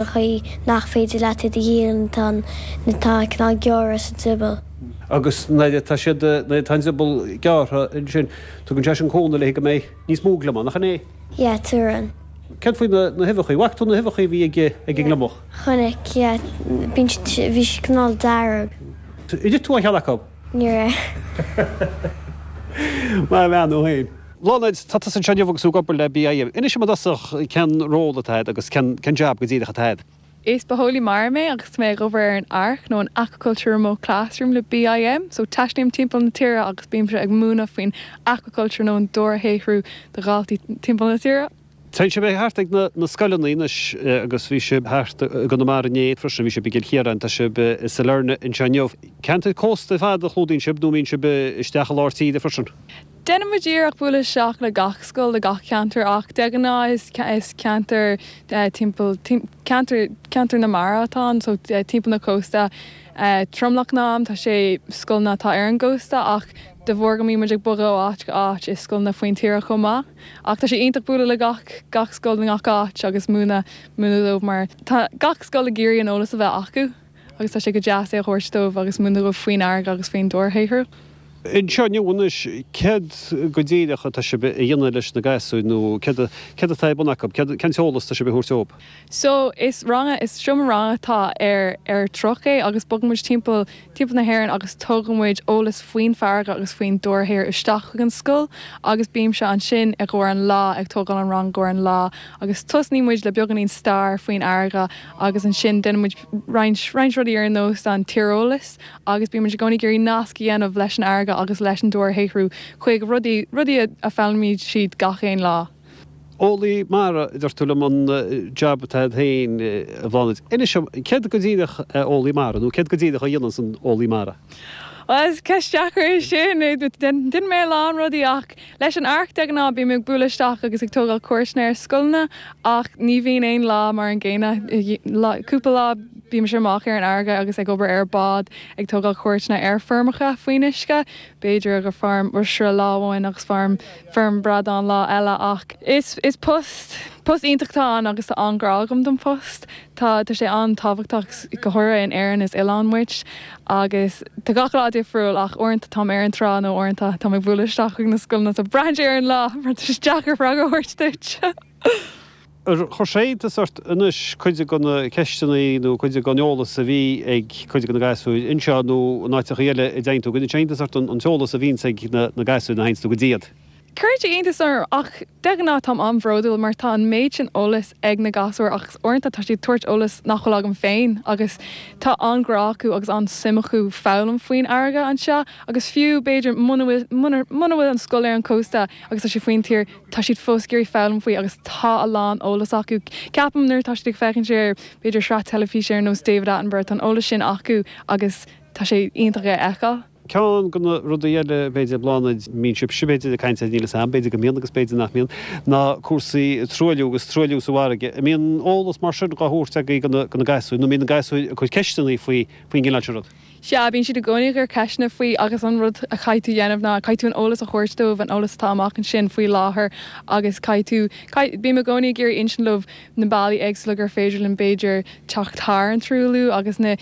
Chaoi nach féidir leat iad a dhíol nuair atá cineál gearrtha sa drioball. Agus nuair atá siad, nuair atá an drioball gearrtha ansin, tugann sé sin cúnamh le go mbeidh níos mó gliomach, nach in é? Yeah, tugann. Céard faoi na, na huibheacha? Bhfaca tú na huibheacha a bhí ag, ag an ngliomach? Chonaic, yeah. Bíonn siad, bhí siad cineál dearg. Ar ith tú aon cheann acu? Níor ith. Maith an bhean thú féin. Bláthnaid, tá tusa anseo inniu agus tú ag obair le BIM. Inis dom i dtosach cén ról atá agat agus cén cén jab go díreach atá agat. Is bitheolaí mara mé agus tá mé ag obair ar an ARC nó an Aquaculture Remote Classroom le BIM. So taistlím timpeall na tíre agus bímse ag múineadh faoin aquaculture nó an dobharshaothrú do dhaltaí timpeall na tíre. Téann sibh thart ag na scoileanna anois agus bhí sibh thart i gConamara inné freisin, bhí sibh i gCill Chiaráin, tá sibh i Sailearna anseo inniu. Ceantair cósta ar fad a chlúdaíonn sibh nó an mbíonn sibh isteach i lár tíre freisin? Déanann muid iarracht bualadh isteach le gach scoil i gach ceantar ach de ghnáth is is ceantar timpeall ceantar ceantar na mara atá ann so timpeall na cósta. Tromlach na am tá sé scoileanna atá ar an gcósta ach de bharr go mbíonn muid ag bogadh ó áit go áit is scoileanna faoin tíre chomh maith. Ach tá sé iontach bualadh le gach gach scoil i ngach áit agus múineadh múineadh dóibh mar tá gach scoil ag iarraidh an eolas a bheith acu agus tá sé go deas é a thabhairt dóibh agus múineadh dóibh faoin fharraige agus faoin dobharshaothrú. Anseo inniu anois, céard go díreach atá sibh a dhéanamh leis na gasúir nó céard céard atá ar bun acu, céard cén t-eolas atá sibh a thabhairt dóibh? So, is ranga, is seomra ranga atá ar ar truck é agus bogann muid timpeall timpeall na hÉireann agus tugann muid eolas faoin farraige agus faoin dobharshaothrú isteach chuig an scoil agus bímse ansin i gcomhair an lá ag tógáil an rang i gcomhair an lá agus tosnaíonn muid le beagáinín stair faoin fharraige agus ansin déanann muid roinnt roinnt rudaí ar nós an tíreolas agus bíonn muid i gcónaí ag iarraidh nasc a dhéanamh leis an fharraige agus leis an dobharshaothrú chuig rudaí, rudaí a foghlaimíonn siad gach aon lá. Eolaí mara, a deir tú liom, an jab atá agat féin, a Bhláthnaid. Inis dom, céard go díreach é eolaí mara, nó céard go díreach a dhéananns an eolaí mara? Bhuel, is ceist deacair é sin. Déanann mé a lán rudaí ach Leis an ARC de ghnáth bím ag bualadh isteach agus ag tógáil cuairteanna ar scoileanna ach ní bhíonn aon lá mar an gcéanna. Cúpla lá bímse amach ar an fharraige agus ag obair ar bád ag tógáil cuairteanna ar feirmeacha faoin uisce, b'fhéidir ag feirm oistre lá amháin agus feirm feirm bradán lá eile ach is is post post iontach atá ann agus tá an-ghrá agam don phost. Tá tá sé an-tábhachtach go háirithe in Éirinn is oileán muid agus tá gach lá difriúil ach uaireanta táim ar an trá nó uaireanta táim ag bualadh isteach chuig na scoileanna so braitheann sé ar an lá mar tá sé deacair freagra a thabhairt duit. Ar chuir sé iontas ort anois cuid de na ceisteanna nó cuid den eolas a bhí ag cuid de na gasúir anseo nó in áiteacha eile a dtéann tú, an gcuireann sé iontas ort an t-eolas a bhíonns ag na gasúir nuair a théanns tú go dtí iad? Cuireann sé iontas orm ach de ghnáth táim an-bhródúil mar tá an méid sin eolais ag na gasúir agus uaireanta tá siad ag tabhairt eolas nach bhfuil agam féin agus tá an-ghrá acu agus an-suim acu foghlaim faoin fharraige anseo agus fiú b'fhéidir muna bhfuil muna muna bhfuil an scoil ar an cósta agus tá sé faoin tír tá siad fós ag iarraidh foghlaim faoi agus tá a lán eolas acu. Ceapaim nuair atá siad ag féachaint ar b'fhéidir sraith teilifíse ar nós David Attenborough tá an eolas sin acu agus tá sé iontach é a fheiceáil. Ceann de na rudaí eile, b'fhéidir, Bláthnaid, a mbíonn sibhse, b'fhéidir, ag caint air, níl 'fhios a'm, b'fhéidir go mbíonn agus b'fhéidir nach mbíonn, ná cúrsaí truailliú agus truailliú sa bhfarraige. An mbíonn eolas mar sin dhá thabhairt agaibh do na gasúir nó an mbíonn na gasúir ag cur ceisteanna faoi faoin gcineál sin rud? Sea, bíonn siad i gcónaí ag cur ceisteanna faoi agus an rud a chaithfidh tú dhéanamh ná caithfidh tú an eolas a thabhairt dóibh, an eolas atá amach ansin faoi láthair agus caithfidh tú, bím i gcónaí ag iarraidh insint leo na bealaí éagsúla gur féidir linn b'fhéidir teacht thar an truailliú agus na,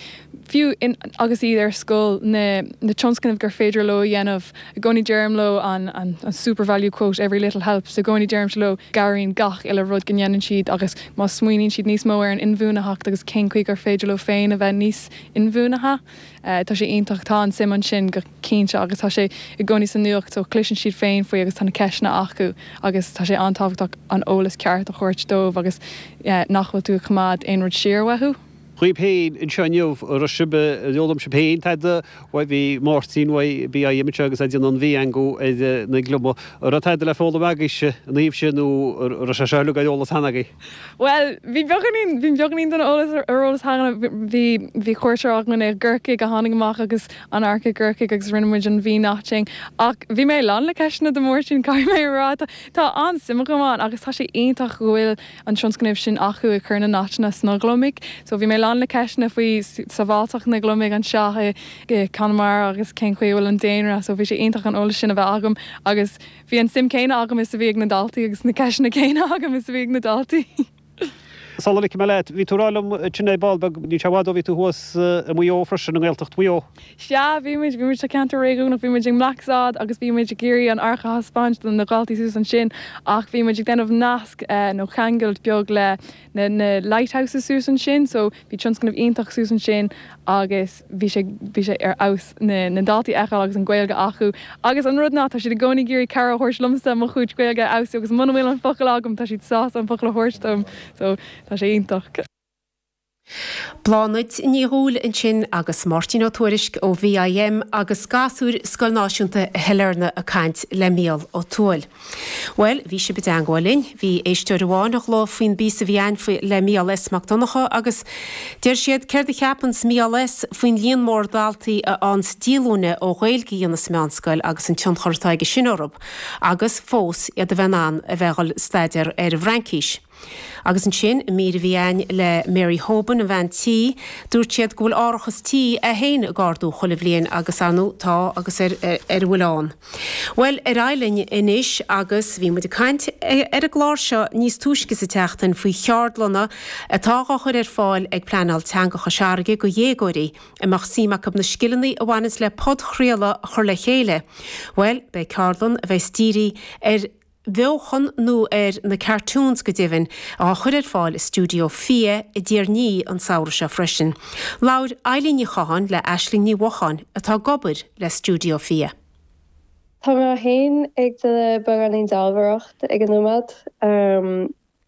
fiú in, agus iad ar scoil, na, na tionscnaimh gur féidir leo a dhéanamh. I gcónaí deirim leo an, an, an SuperValu quote every little helps, i gcónaí deirimse leo cabhraíonn gach uile rud go ndéanann siad agus má smaoiníonn siad níos mó ar an inbhuanaitheacht agus cén chaoi gur féidir leo féin a bheith níos inbhuanaithe, tá sé iontach, tá an suim ansin go cinnte agus tá sé i gcónaí sa nuacht so cloiseann siad féin faoi agus tá na ceisteanna acu agus tá sé an-tábhachtach an eolas ceart a thabhairt dóibh agus nach bhfuil tú ag coimeád aon rud siar uathu. Dhaoibh féin anseo inniu, an raibh sibh, ar fhoghlaim sibh féin tada uaidh, bhí Máirtín uaidh BIM anseo agus é ag déanamh an mhí-eangú ar na gliomaigh. An raibh tada le foghlaim agaibhse ina thaobh sin nó an raibh sé seo uilig ar eolas cheana agaibh? Bhuel, bhí beagáinín, bhí beagáinín den eolas ar eolas cheana. Bhí, bhí cuairteoir againn i gCorcaigh a tháinig amach agus an ARC i gCorcaigh agus rinne muid an V-notching. Ach bhí mé lán le ceisteanna do Mháirtín, caithfidh mé a rá. Tá, tá an-suim agam ann agus tá sé iontach go bhfuil an tionscnamh sin acu ag cur na noiteanna sna gliomaigh. So bhí mé lán le ceisteanna faoi sábháilteacht na gliomaigh anseo i gConamara agus cén chaoi a bhfuil an daonra. So bhí sé iontach an eolas sin a bheith agam agus Bhí an suim céanna agam is a bhí ag na daltaí agus na ceisteanna céanna agam is a bhí ag na daltaí. Sula ligfidh mé leat, bhí tú ag rá liom ansin ar ball beag, níl sé i bhfad ó bhí tú thuas i Maigh Eo freisin, i nGaeltacht Mhaigh Eo. Sea, bhí muid, bhí muid sa cheantar réigiúnach, bhí muid i mBlacksod agus bhí muid ag iarraidh an áirc a thaispeáint do na dhaltaí suas ansin ach bhí muid ag déanamh nasc nó ceangailt beag le na na lighthouses suas ansin so bhí tionscnamh iontach suas ansin agus bhí sé bhí sé ar fheabhas na na daltaí a fheiceáil agus an Ghaeilge acu agus an rud ná tá siad i gcónaí ag iarraidh cabhair a thabhairt liomsa mo chuid Gaeilge a fheabhsú agus muna bhfuil an focal agam tá siad sásta an focal a thabhairt dom so tá sé iontach. Bláthnaid Ní Dhúill ansin agus Máirtín Ó Tuairisg ó VIM agus gasúir Scoil Náisiúnta Shailearna ag caint le Mícheál Ó Tuathail. Bhuel, bhí sibh i dteangmháil linn. Bhí éisteoir amháin a ghlaoigh faoin bpíosa a bhí a'ainn faoi le Mícheál S. Mac Donncha agus deir siad céard a cheapanns Mícheál S. faoin líon mór daltaí a fhaigheanns díolúine ó Ghaeilge a dhéanamh sa meánscoil agus an tionchar atá aige sin orthu agus fós iad a bheith in ann a bheith ag dhul staidéar ar an bhFraincís. Agus ansin, i mír a bhí a'ainn le Mary Hoban, an bhean tí, dúirt siad go bhfuil árachas tí é féin ag ardú chuile bhliain agus, ar ndóigh, tá agus ar a bhfuil ann. Bhuel, ar aghaidh linn anois agus bhí muid ag caint ar an gclár seo níos túisce sa tseachtain faoi cheardlanna atá á chur ar fáil ag Pleanáil Teanga Chois Fharraige go dhéagóirí a mbeadh suim acu na scileanna a bhaineanns le podchraoladh a chur le chéile. Bhuel, beidh ceardlann a bheas dírithe ar bheochan nó ar na cartoons go deimhin, á chur ar fáil i stiúideo FIA i dTír an Fhia an samhradh seo freisin. Labhair Eilín Ní Chatháin le Aisling Ní Mhocháin atá ag obair le Stiúideo FIA. Tá mé féin ag déanamh beagáinín dealbhóireacht ag an nóiméad.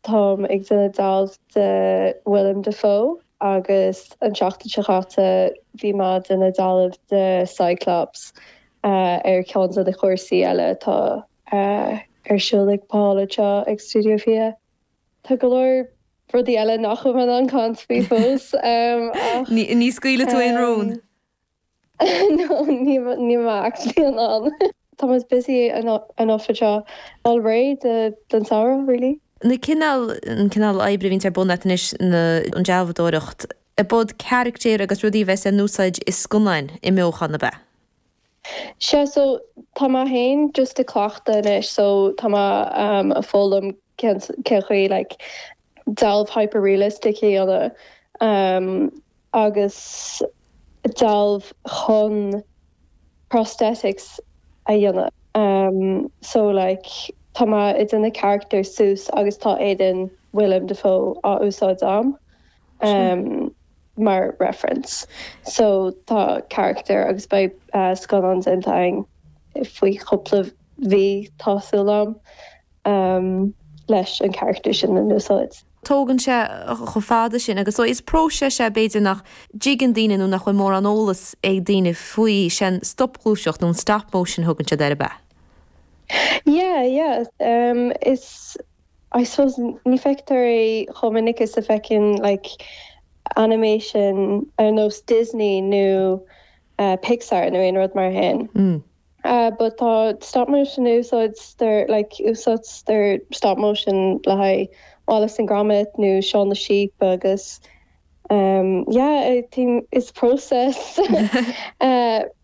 Táim ag déanamh dealbh de Willem Dafoe agus an tseachtain seo chaite bhí mé ag déanamh dealbh de Cyclops ar cheann de na cúrsaí eile atá ar siúl ag Paul anseo ag Studio Fia. Tá go leor rudaí eile nach bhfuil mé in ann caint faoi fós ach. Ní scaoilfidh tú aon rún? No, níl mé actually in ann. Tá muid busy enough anseo. Fáil réidh don samhradh, really. Na cineál, an cineál oibre a bhíonns ar bun a't anois, na, an dealbhadóireacht, ab iad caractéir agus rudaí a bheas in úsáid i scannáin i mbeochan, ab ea? Sea, so tá mé féin just ag cleachtadh anois, so tá mé ag foghlaim cén cén chaoi like dealbh hyper-realistic a dhéanamh agus dealbh chun prosthetics a dhéanamh. So like tá mé ag déanamh character suas agus tá éadan Willem Dafoe á úsáid a'm. mar reference. So tá character agus beidh scannán déanta againn faoi chúpla mhí tá súil a'm leis an character sin in úsáid. Tógann sé chomh fada sin agus so is próiseas é b'fhéidir nach dtuigeann daoine nó nach bhfuil mórán eolas ag daoine faoi, sé an stopghluaiseacht nó an stop motion a thugann siad air ab ea? Yeah, yeah. Is I suppose ní feictear é chomh minic is a feiceann like animation ar nós Disney nó Pixar nó aon rud mar sin. But tá stop motion úsáidtear like úsáidtear stop motion le haghaidh Wallace and Gromit nó Shaun the Sheep agus um yeah I think is process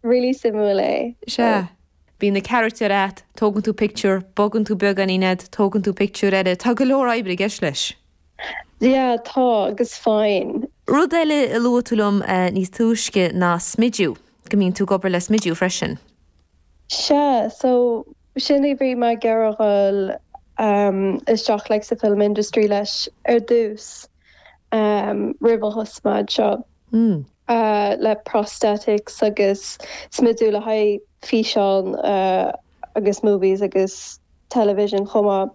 really suimiúil é. Sea. Bíonn na carachtair a't, tógann tú pictiúr, bogann tú beagáinín iad, tógann tú pictiúr eile, tá go leor oibre i gceist leis. Yeah, tá, agus foighid. Rud eile a luaigh tú liom níos túisce ná smidiú, go mbíonn tú ag obair le smidiú freisin. Sea, so sin a bhí mé ag iarraidh dhul isteach like sa film industry leis ar dtús roimh a thosaigh mé anseo. le prosthetics agus smidiú le haghaidh físeán agus movies agus television chomh maith.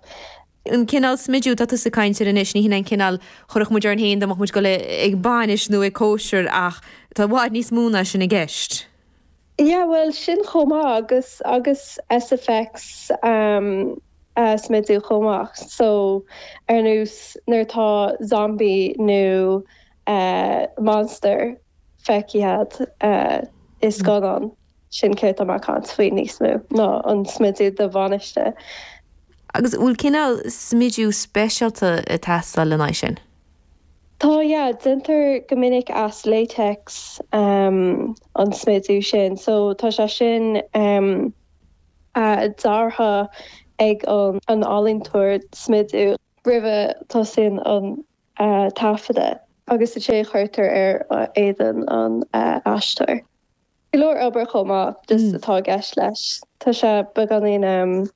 An cineál smidiú atá tusa ag caint air anois, ní hin é an cineál a chuirfeadh muid orainn féin dá mbeadh muid ag dul ag bainis nó ag cóisir ach tá i bhfad níos mó ná sin i gceist. Yeah bhuel sin chomh maith agus agus SFX smidiú chomh maith so ar nós nuair atá zombie nó monster feicthe agat i scannán, sin céard tá mé ag caint faoi níos mó ná an smidiú do bhainis. Agus bhfuil cineál smidiú speisialta ag teastáil lena aghaidh sin? Tá, yeah. Déantar go minic as latex an smidiú sin. So tá sé sin deartha ag an ealaíontóir smidiú roimh a tosaíonn an. taifeadadh agus ansin cuirtear ar éadan an aisteoir. Go leor obair chomh maith just atá i gceist leis. Tá sé beagáinín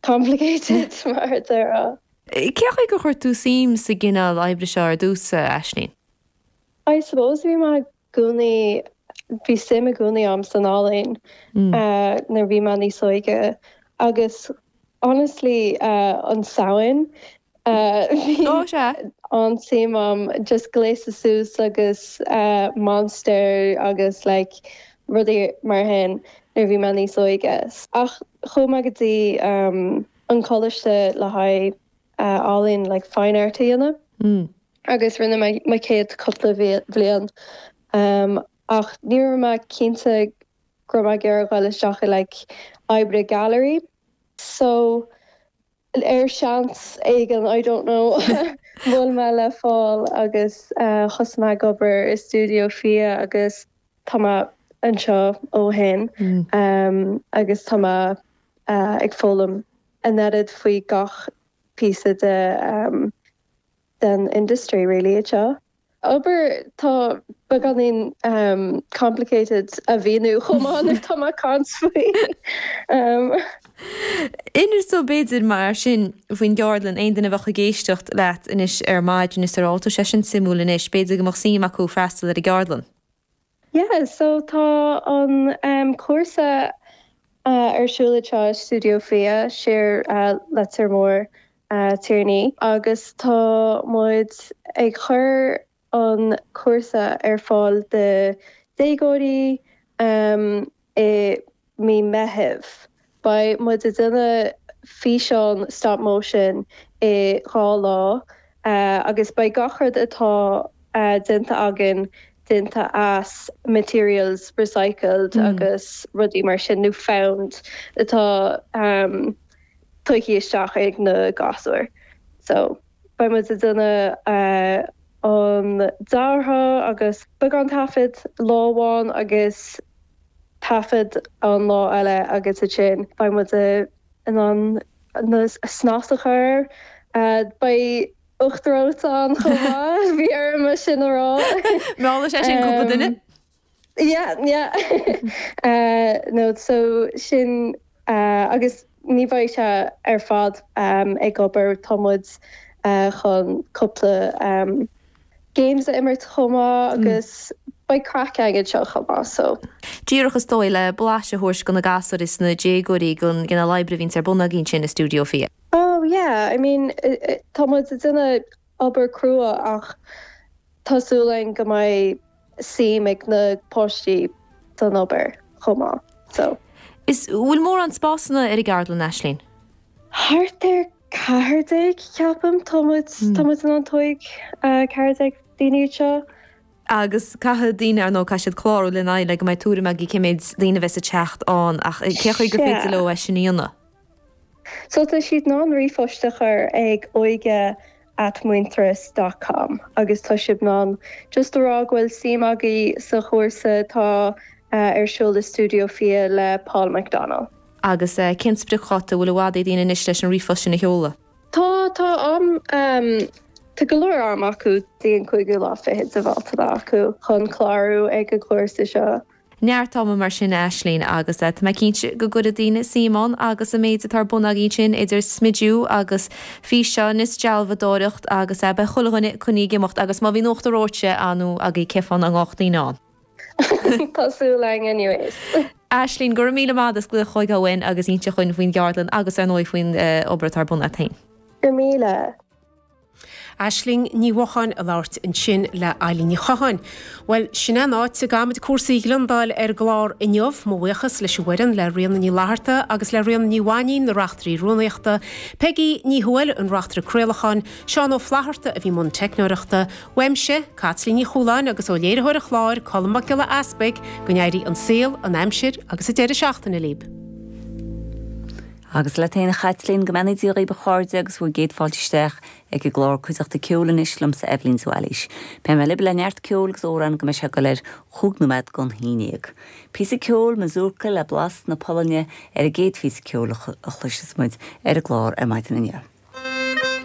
complicated mar a déarfá. Cé chaoi gur chuir tú suim sa gcineál oibre seo ar dtús, a Aislinn? I suppose bhí mé i gcónaí, bhí suim i gcónaí a'm san ealaín nuair bhí mé níos óige agus honestly an Samhain bhí an-suim a'm just gléasadh suas agus monster agus like rudaí mar sin nuair bhí mé níos óige. Ach chuaigh mé go dtí an coláiste le haghaidh ealaín like fine art a dhéanamh agus rinne mé mo chéad cúpla bhliain ach ní raibh mé cinnte go raibh mé ag iarraidh dul isteach i like oibre gallery so ar seans éigin I don't know bhuail mé le Paul agus thosaigh mé ag obair i Stiúideo Fia agus tá mé anseo ó shin agus tá mé ag foghlaim an oiread faoi gach píosa de den industry really anseo. Obair tá beagáinín complicated a mhíniú chomh maith nuair atá mé ag caint faoi. Inis dó b'fhéidir mar sin faoin gceardlann, aon duine a bheadh ag éisteacht leat anois ar maidin is ag rá, tá sé sin suimiúil anois, b'fhéidir go mbeadh suim acu freastal ar an gceardlann. Yeah, so tá an cúrsa ar siúl anseo i Stiúideo Fia, siar Leitir Móir, Tiarnaí, agus tá muid ag cur an cúrsa ar fáil do déagóirí i mí Meitheamh. Beidh muid ag déanamh físeán stop motion i 2 lá agus beidh gach rud atá déanta againn déanta as materials recycled agus rudaí mar sin nó found atá tugtha isteach ag na gasúir. So beidh muid ag déanamh an deartha agus beagán taifead lá amháin agus taifead an lá eile agus ansin beidh muid in ann na snas a chur air. Beidh uachtar reoite ann chomh maith, bhí orm é sin a rá. Meallfaidh sé sin cúpla duine. Yeah, yeah. No, so sin agus ní bheidh sé ar fad ag obair, tá muid chun cúpla games a imirt chomh maith agus beidh craic againn anseo chomh maith so. Díreach is dóigh le blaiseadh a thabhairt do na gasúir is na déagóirí den gcineál oibre a bhíonns ar bun agaibh ansin i Stiúideo Fia. Oh yeah, I mean tá muid ag déanamh obair crua ach tá súil againn go mbeidh suim ag na páistí san obair chomh maith so. Is bhfuil mórán spásanna ar an gceardlann, Aislinn? Thart ar 14 ceapaim. Tá muid, tá muid in ann tóig 14 daoine anseo. Agus caithfidh daoine, ar ndóigh, caithfidh siad clárú lena aghaidh le go mbeidh tuairim agaibh cé méid daoine a bheas ag teacht ann ach cé chaoi gur féidir leo é sin a dhéanamh? So tá siad in ann ríomhphost a chur ag óige at muintearas dot com agus tá sibh in ann just a rá go bhfuil suim agaibh sa chúrsa atá ar siúl i Stiúideo Fia le Paul McDonnell. Agus cén spriocdháta? Bhfuil i bhfad ag daoine anois leis an ríomhphost sin a sheoladh? Tá, tá am, tá go leor am acu dtí an cúigiú lá fichead de Bhealtaine acu chun clárú ag an gcúrsa seo. Neart ama mar sin, a Aislinn, agus tá mé cinnte go gcuirfidh daoine suim ann agus an méid atá ar bun agaibh ansin idir smidiú agus físeáin is dealbhadóireacht agus beidh chuile dhuine coinnithe ag imeacht agus má bhíonn uachtar reoite ann agaibh cén fáth nach ngabhfadh daoine ann? Tá súil againn anyways. Aislinn, go raibh míle maith agat as glaoch chugainn uainn agus inse dhúinn faoin gceardlann agus ar ndóigh faoin obair atá ar bun agat féin. Go raibh míle. Aisling Ní Mhocháin ag labhairt ansin le Eilín Ní Chatháin. Bhuel, sin é an áit a gcaithfimid cúrsaí a ghliondáil ar an gclár inniu. Mo bhuíochas leis an bhfoireann, le Ríona Ní Fhlatharta agus le Ríona Ní Mhainín, na reachtairí rúnaíochta, Peigí Ní Thuathail, an reachtaire craolacháin, Seán Ó Flatharta a bhí i mbun teicneoireachta, uaimse, Caitlín Ní Chualáin agus ó léiritheoir an chláir, Colm Mac Giolla Easpaig, go n-éirí an saol, an aimsir agus an deireadh seachtaine libh. Agus leat féin a Chaitlín, go mbeannaí Dia dhaoibh a chairde agus bhur gcéad fáilte isteach ag an gclár Cuideachta Ceoil anois liomsa Eibhlín de Bhailís. Beidh mé libh le neart ceoil agus amhrán go mbeidh sé ag dul ar chúig nóiméad don haon dhéag. Píosa ceoil, Mazurka le blas na Polainne ar an gcéad phíosa ceoil a chloisfeas muid ar an gclár ar maidin inniu.